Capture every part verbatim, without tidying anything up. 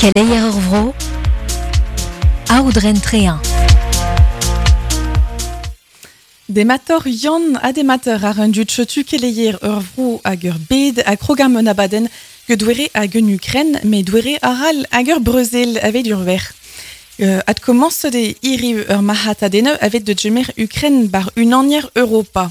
Keleier ur vro, aoudren trean. Demator Yann ha demator ar un dud chetu keleier ur vro hag ur bed a krogam un abadenn ge hag un Ukren, me douere aral hag ur breuzel evet ur ver. Euh, ad commence de iri ur mahatadene evet de djemer Ukren bar unanier Europa.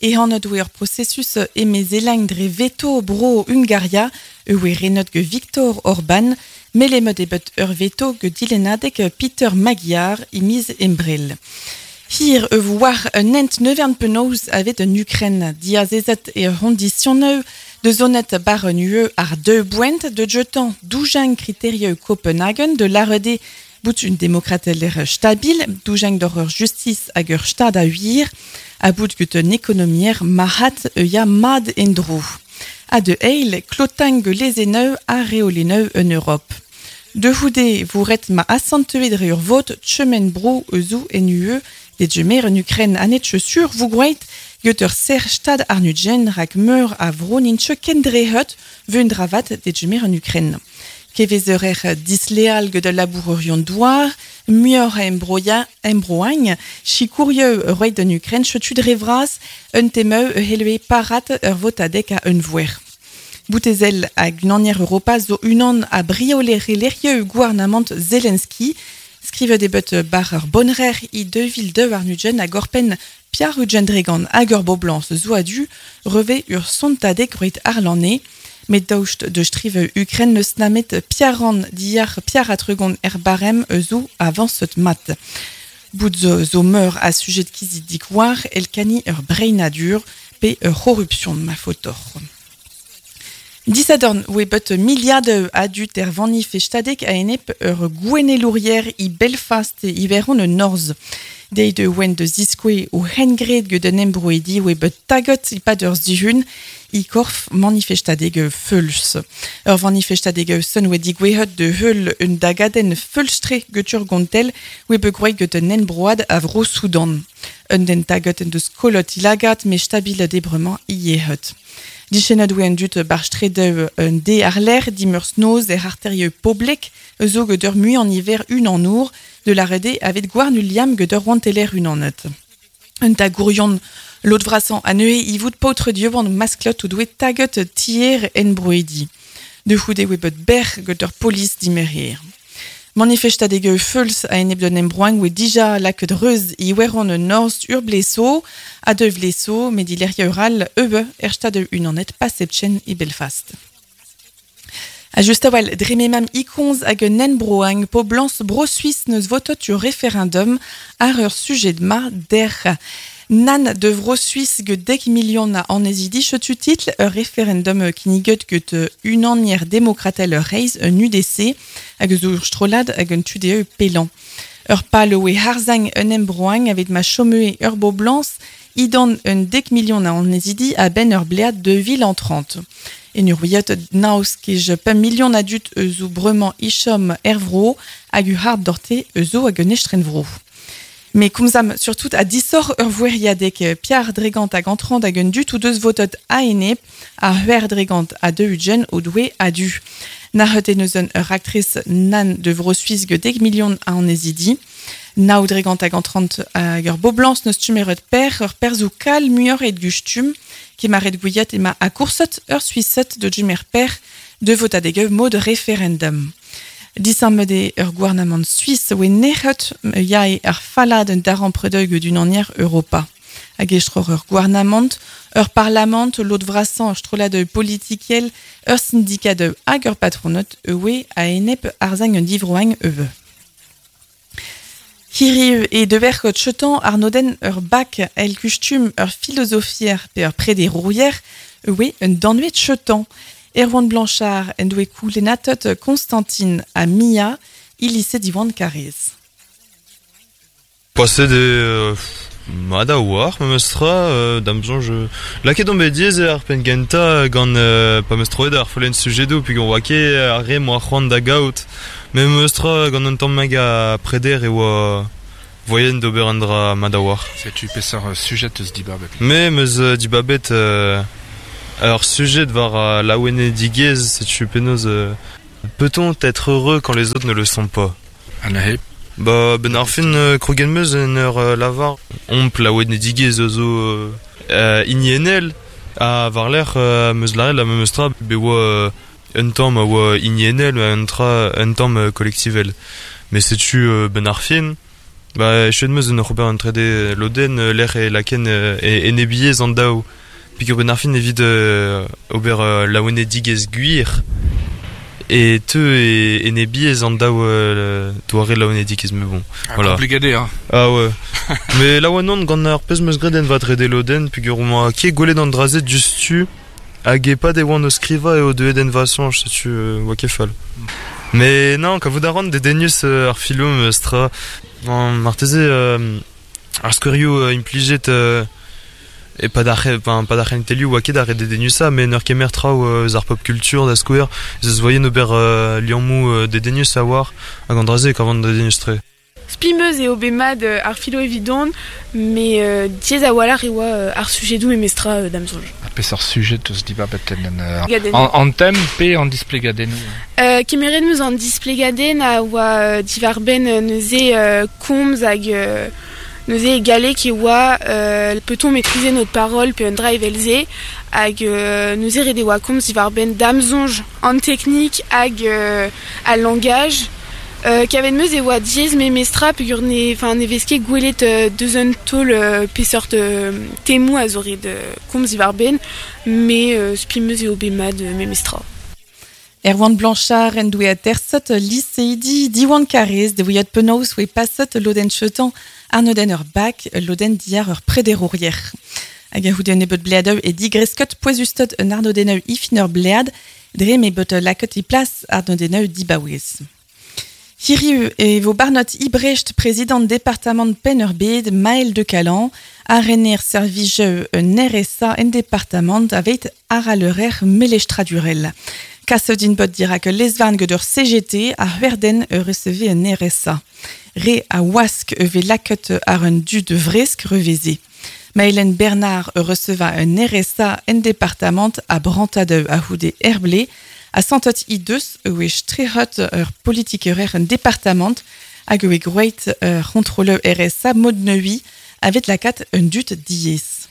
E han doe ur processus emezelang dre veto bro Hungaria, eue renot ge Viktor Orban, melemet ebet ur veto ge dilenadek Peter Magyar imiz embrel. Hir e war un ent nevern penaos avet un Ukren diazezet e ronditioneu de zonet bar un U E ar deux boent de jetan doujang kriterieu Copenhagen de l'arede bout un demokrateler stabil, doujang d'horreur justice hag ur stad a huir, a bout gut un ekonomier mahat e ya mad endro. A de eil, klotang lezeneu a reoleneu en Europe. De houde vouret ma assanteue dre ur vot chemen bro euzou en U E, de djemer en Ukraine anet sur vous groit get ur ser stad arnudjen rak meur a vro nintche kendrehut vun dravat de djemer en Ukraine. Kevezerer disleal get de labourerion douar, muior a embroia, embroagn, chikourieu roit en Ukraine chetu drevras, un temeu helue parat ur votadek a un vouer. Boutezel hag unanier Europa zo unan a briolere lerieu gouarnamant Zelensky, skrive debet bar ur bonrer i deux vil deux ar nudjen a gorpen Pierre Rugen Dregan hag ur boblans zo adu reve ur sontadek roit arlane, met daoust de strive Ukraine neus namet Pierre diar Pierre atregon er barem zo avanset mat. Bout zo, zo meur a sujet kizi dik war el kani ur breinadur pe ur corruption ma fotor. Disadorn oe bet miliard adut er vanifestadek a enep ur gouenelourier i Belfast e iveron e norz. Dei de oen de ziskoe o hengred get un embroedi oe bet tagot i pad ur zihun i korf manifestadeg feuls. Ur vanifestadeg sun oe digwehet de heul un dagaden feulstre get ur gontel oe bet groet get un embroad a vro Soudan. Un den tagot en deus kolot ilagat me stabil debremañ iehet. Dichenad oe an dut bar stredeu un de ar l'air dimurs noz er arterieu poblek zo get ur mui an iver un an our de la rede avet gwarn liam get ur wanteler un an et. Un tagourion lot vrasan a neue ivout paotre dieuban masklot ou doe taget tier en broedi. De houde oe bet ber get ur polis dimerir. Manifestadeg feuls a enep d'un embroang oe dija laket reuz i weron un norz ur bleso, a deux bleso, met ileria ural eue er stad unanet pasepchen i Belfast. A just awal drememam ikonz hag un enbroang poblans bro-Suisse neus votot ur référendum ar ur sujet ma der. Nan de vro Suisse ge dek million a anezidi chetu title ur référendum kiniget get unanier demokratel reiz un U D C hag zo ur strolad hag un tude pelan. Ur pal oe harzang un embroang avet ma chomue ur boblans idan un dek million a anezidi a ben ur blead de vil en trente. En ur ouiot naos kej pemp million adut eus o bremañ ichom ervro hag u hard dorte eus o hag un estrenvro. Mais komzam surtout a disor ur voueriadek Pierre Dregant hag entrant hag un dut ou deus votot a enep a huer Dregant a deux ugen o doue a du. Nahet eus un ur actrice nan de vro Suisse ge dek million a anezidi. Nao Dregant hag entrant hag ur boblans neus tumeret per ur perzou kal muior et gustum kemaret gouiet ema a koursot ur Suisset de jumer per de votadeg mod référendum. Disammede ur gouarnamant suisse oe nec'het yae ar falad un daran predeug d'un anier Europa. Hag estror ur gouarnamant, ur parlament, lot vrasan ur strolad politikel, ur syndikat hag ur patronot oe a enep arzang un divroang eue. Hiriv e dever chetan arnoden ur bak el kustum ur philosophier pe ur prederourier oe un danvet chetan. Erwan Blanchard en doe koulenatot Constantine a Mia, i lycée d'Iwan Carrez. Passer de mad a war, me meustra, euh, dam zonj... Laket on bet diez ar pen genta gant euh, pa meus troet ar follen sujedo, puis gant oa ket ar re moa c'hoant da gaout. Me meustra gant un tamm mag a preder e oa voyen d'ober an dra mad a war. Setu peseurt sujet eus dibabet? Me meus dibabet... Euh, Ur sujet war uh, laouenedigezh, setu penaos euh, Peut-on être heureux quand les autres ne le sont pas? An Ba, ben ar fin euh, krogen meus en ur euh, lavar omp laouet nedigez zo euh, euh, inienel a var l'er euh, meus laret la meus tra be oa euh, un tamm a oa inienel un tra un tamm euh, kolektivel. Mais setu euh, ben ar fin ba chet meus en ur ober un trede loden euh, l'er e laken euh, e enebiez an daou. Pigur ben ar fin evit euh, ober euh, laouenedigez gwir e teu e enebiez an daou euh, doare laouenedigez me bon. Ah, Voilà. Kompliket hein. Ah ouais. Mais la oa non gant ar pezh meus graet en va trede loden pugur oa ket gwelet an draze diouzhtu hag e pa de oan o skriva eo deuet en va soñj, setu euh, oa ket fall. Mais non, kavout a ran dedennus euh, ar filom euh, stra an marteze euh, ar skouerioù euh, implijet euh, e pa d'ar enfin, pa d'ar c'hentelioù oa ket ar dedennusa, mais n'ur kemer traoù euh, ar pop culture da skouer, ez eus voyen ober euh, liammoù euh, dedennus a war hag an draze kavan dedennus tre. Spimeuz eo bet mat euh, ar filo evidon, mais euh, diez a walc'h e oa euh, ar sujedoù memestra euh, da'm soñj. A peseurt sujet eus dibabet en euh, Gadenn. an, an tem pe an displegadennoù. Euh, kemeret meus an displegadenn a oa euh, diwar-benn euh, neuze euh, komz hag euh, neuze e galleg e oa euh, peut-on maîtriser notre parole pe un dra evel-se hag euh, neuze ret e oa komz diwar-benn da'm soñj an teknik hag euh, al langage. Euh, kavet meus e oa diaes memestra peogwir ne, enfin, ne vez ket gwelet euh, deus un taol euh, peseurt euh, temoù a zo ret euh, komz diwar-benn, mais euh, spi meus eo bet mat euh, memestra. Erwan Blanchard en doe aterset lycéidi Diwan Karez de ouiat penaos oe passet loden chetan arnoden ur bak loden diar ur prederourier. Hag a houde nebet bleadeu e digreskot poezustot un arnodeneu ifin ur blead dre me bet laket e plas arnodeneu dibaouez. Hiriu e vo Barnot Ibrecht, prezident département Penn-ar-Bed, Maël de Calan, a rener servijeu un R S A en département avet aralerer melestradurel. Kaset din bot dira que lesvarn gant ur C G T a c'hwerden e receve un R S A. Re a wask e ve laket ar un du de vresk reveze. Maëlène Bernard e receva un R S A en département a brantadeu a houde herblé, a santot i deus e oe strehot ur politikerer en département hag oe groeit ur c'hontroleu R S A mod neui avet lakat un dut diez.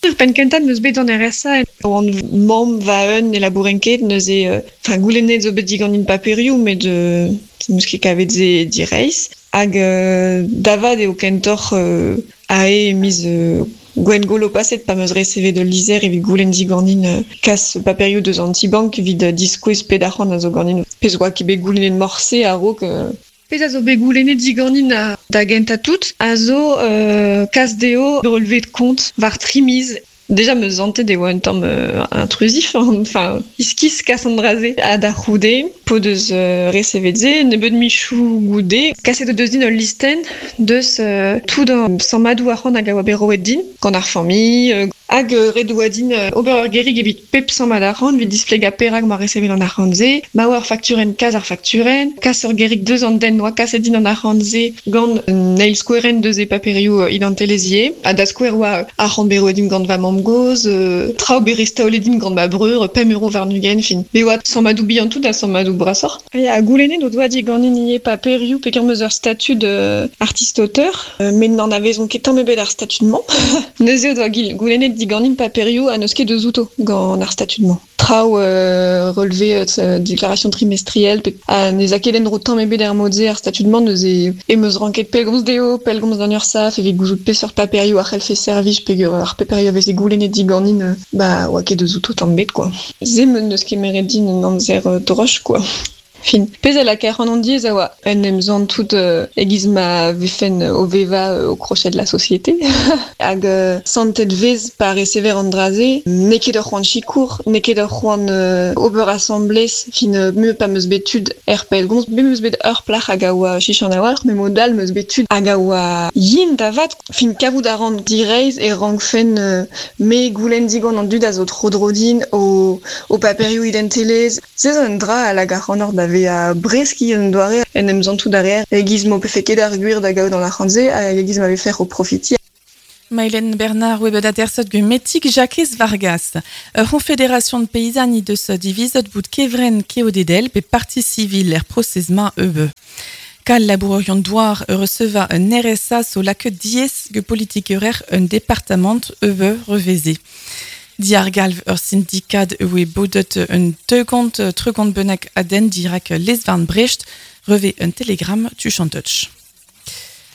Ur penn kentañ meus bet an R S A oan mamm va un e labouren ket neuze, euh, enfin, goulennet zo bet diganin paperioù met euh, meus ket kavet ze direizh. Hag, euh, davad eo kentoc'h, euh, ae miz, euh, Gwengolo paset pa meus resevet de lizer evit goulenn diganin, euh, kas paperioù deus an ti-bank evit, euh, diskouez ped arc'hant a zo ganin. Pezh oa ket bet goulennet morse a-raok, euh, Pezh a zo bet goulennet diganin a, da gentañ tout, a zo, euh, kas dezho relevé de compte war tri miz. Déjà me zantet e oa un tamm, euh, intrusif, hein, enfin, iskis kas an draze a da c'houde, po deus, euh, resevet ze, nebeut michou goude, kaset o deus din ul listen deus, euh, tout an sammadoù arc'hant hag a oa bet roet din, gant ar familh, euh, hag, euh, ret oa din, euh, ober ur gerig evit pep sammad arc'hant, evit displegañ perak ma resevet an arc'hant se, ma oa ur fakturenn kas ar fakturenn, kas ur gerig deus an den oa kaset din an arc'hant se gant un eil skouerenn deus e paperioù, euh, identilezier, ha da skouer oa arc'hant bet roet din gant va mamm goz, euh, traoù bet restaolet din gant ma breur, pemp euro warn-ugent, fin. Bet oa sammadoù bihan tout ha sammadoù brasoc'h. Ya, goulennet o doa diganin ivez paperioù peogwir meus ur statud, euh, artiste-auteur, euh, met n'en avezont ket tamm ebet ar statud-mañ. Neuze o doa gil-, goulennet diganin paperioù ha n'eus ket deus outo gant ar statud-mañ. Traoù, euh, relevé, euh, euh, déclaration trimestrielle, pe, ha ne za ket en-dro tamm ebet er mod-se ar statud-mañ, neuze e meus ranket pellgomz dezho, pellgomz d'an URSSAF, evit gouzout peseurt paperioù a c'hellfe servij, peogwir ar paperioù a veze goulennet diganin, euh, ba, oa ket deus outo tamm ebet, quoi. Se me n'eus ket meret din un amzer, euh, droch, quoi. Fin. Pezh a lakaer an diez a oa en em zant tout, euh, egiz ma vefen o veva, euh, au crochet de la société. Hag, euh, santet vez pa recever an draze, n'eo ket ur c'hoant sikour, n'eo ket ur c'hoant, euh, ober asamblez, fin, euh, me pa meus bet tud er pellgomz, me meus bet ur plac'h hag a oa chichan a-walc'h, me mod all meus bet tud hag a oa yin da vat. Fin kavout a ran direizh e rankfen, euh, me goulenn digant an dud a zo tro dro din o, o paperioù identelezh. Se zo un dra a lak ar c'hant da ve a breski un doare en em zantout derrière egiz m'o pefe ket ar gwir da gaout an arc'hant-se hag egiz ma vefe o profiti. Maëlène Bernard oe bet aterset ge metik Jacques Vargas. Ur Confédération de paysannes deus divizet bout kevren keodedel pe partie civile er prosez-ma eube. Kal labourerion douar receva un R S A so lake diez ge politikerer un département eube reveze. Diar galv ur syndikat oe bodet un tegont tregont benak aden dirak lesvarn Brecht reve un telegram tu chanteuch.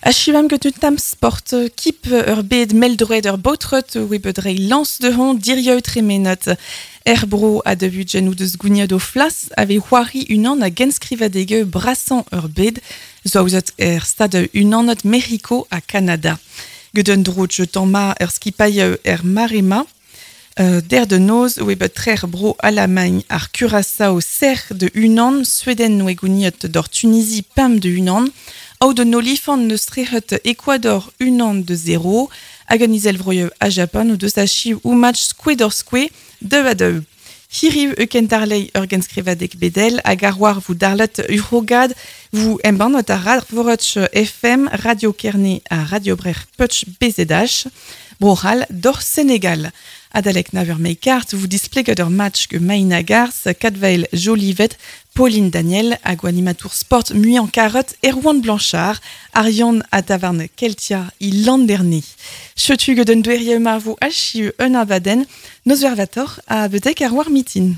Achivam get un tam sport kip ur bed meldroed ur baotrot oe bet rei lans de hon dirieu tremenat. Er bro a de budgen ou deus gouniad o flas ave c'hoari unan a genskrivadege brasan ur bed zouzet er stade unanot Mexico a Canada. Get un dro jetan ma ur skipaille er marema. Euh, der de noz oe bet trer bro Allemagne ar Curaçao ser de unan, Sueden oe gouniot d'or Tunisie pam de unan, Au de nolifant neus trehet Ecuador unan de zéro, hag an izelvroieu a Japan ou deus achiv ou match square d'or square deux à deux. Hiriv e kentarlei ur genskrivadeg bedel hag ar war vou darlet urogad vou embann ot ar Vorotch F M, Radio Kerne ha Radio Brer Putch B Z H, Brohal d'or Sénégal. Adalek naver meikart vous displeget ur match ge Maïna Gars, Kadvael Jolivet, Pauline Daniel, hag animatour sport muian karot, Erwan Blanchard, Arion a tavarn Keltia i Landerni. Chetu get un dweriem ma vo achiu un abaden, noz vervator a bedek ar war mitin.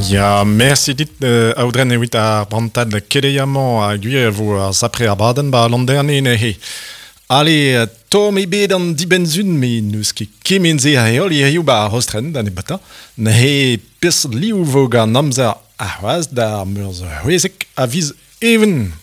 Ja, merci dit euh, audren evit ar brantad keleiamañ a gwir vo ar sapre ar baden ba Landerni ne he. Ale, tom e bet an dibenzun, me n'eus ket kement-se a heol hiziv ba ar rostren da nebata. Neuze peseurt liv vo gant amzer ar c'hoazh d'ar meurzh c'hwezek a viz even.